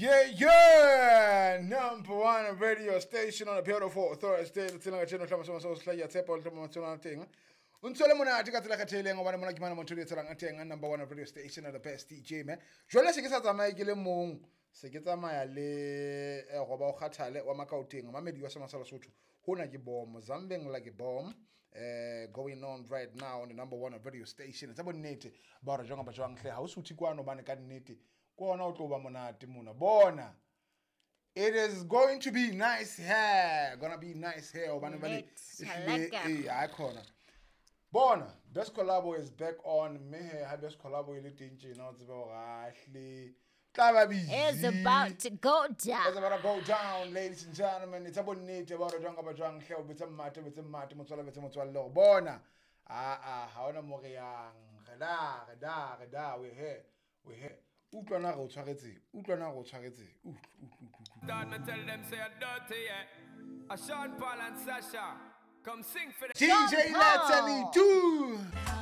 Yeah, number one radio station on a beautiful Thursday. Let's see channel hlama soma so hlaya tshepo hlama tsona teng. O ntse le monate ka tsela kgathehileng hobane mona ke mana motho le tselang a teng, number one radio station and the best DJ, man. Jwale se ke sa tsamaye ke le mong, se ke tsamaya le goba o kgathale wa Makaoteng, mamedi wa Sema sa Lesotho. Hona ke bomb, zambeng like a bomb. Going on right now on the number one radio station. Tsa bonnete ba hore jwang ba jwang hle ha o suthe kwano bane ka nnete. Ke ona o tlo ba monate mona. Bona. It is going to be nice here. Gonna be nice here. Hobane jwale Net, ehlile, lekker. ee, ha khona. Bona, Best Collabo is back on. Mme he, ha Best Collabo e le teng tjena, o tsebe hore ha hle tla ba busy. It's about to go It's down. about to go down, ladies and gentlemen. It's about nnete ba hore jwang kapa jwang hle o betse mmate, o betse mmate, motswalle, betse motswalle hore bona. Ah, ah, ha hona mo re yang. Re da, re da, re da, we here, we here. Utlwa na re o tshwaretse, utlwa na re o tshwaretse. Utlwa, utlwa, utlwa, utlwa. Start me tell them say I'm dirty, yeah. A Sean Paul and Sasha, come sing for the DJ Sean Paul. Letty 2.